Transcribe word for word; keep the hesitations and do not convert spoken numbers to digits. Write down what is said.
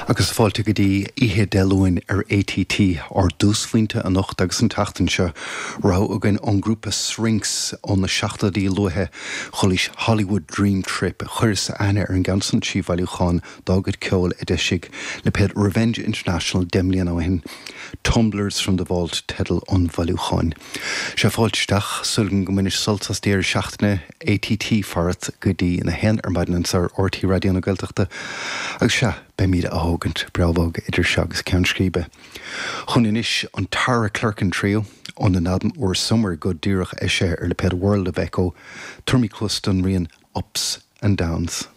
Agus fáilte go dtí Oíche Dé Luain ar ATT ár dtúsphointe anocht agus an tseachtain seo rogha againn ón grúpa Shrinks ó na seachtóidí luatha chualaís Hollywood Dream Trip chuireas aithne ar an gceann san trí bhailiúchán dá gcuid ceoil a d'eisigh lipéad Revenge International deich mbliana ó shin. Tumblers from the Vault teideal an bhailiúcháin. Sé fáilte isteach súil agam go mbainfidh sult as deireadh seachtaine ATT farat go dtí a haon ar maidin anseo ar RTÉ Raidió na Gaeltachta agus sea beimid á thógaint breá bog idir seo agus ceann scríbe. Chun anois an Tara Clerkin Trio óna n-albam úr Somewhere Good díreach eisithe ar lipéad World of Echo, tabharfaimid cluas don rian Ups and Downs.